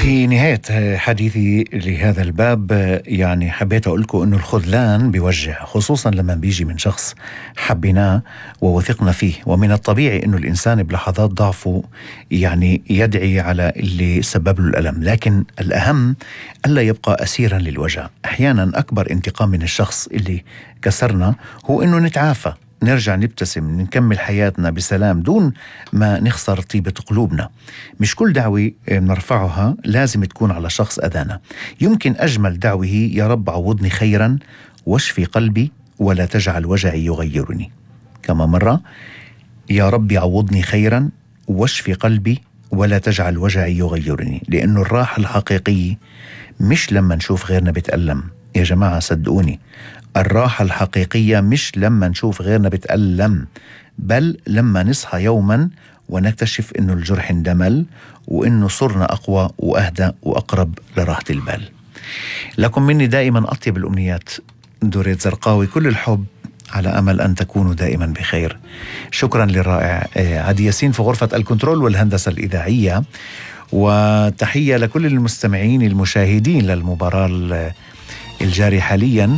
في نهاية حديثي لهذا الباب يعني حبيت أقول لكم أنه الخذلان بيوجع، خصوصا لما بيجي من شخص حبيناه ووثقنا فيه. ومن الطبيعي أنه الإنسان بلحظات ضعفه يعني يدعي على اللي سبب له الألم، لكن الأهم ألا يبقى أسيرا للوجع. أحيانا أكبر انتقام من الشخص اللي كسرنا هو أنه نتعافى، نرجع نبتسم، نكمل حياتنا بسلام دون ما نخسر طيبة قلوبنا. مش كل دعوة نرفعها لازم تكون على شخص أذانا. يمكن أجمل دعوة هي: يا رب عوضني خيرا واشفي قلبي ولا تجعل وجعي يغيرني. كما مرة: يا رب عوضني خيرا واشفي قلبي ولا تجعل وجعي يغيرني. لأنه الراحة الحقيقية مش لما نشوف غيرنا بتألم. يا جماعة صدقوني، الراحة الحقيقية مش لما نشوف غيرنا بتألم، بل لما نصحى يوما ونكتشف إنه الجرح اندمل وإنه صرنا أقوى وأهدى وأقرب لراحة البال. لكم مني دائما أطيب الأمنيات، دوريت زرقاوي. كل الحب على أمل أن تكونوا دائما بخير. شكرا للرائع عدي ياسين في غرفة الكنترول والهندسة الإذاعية، وتحية لكل المستمعين المشاهدين للمباراة الجاري حاليا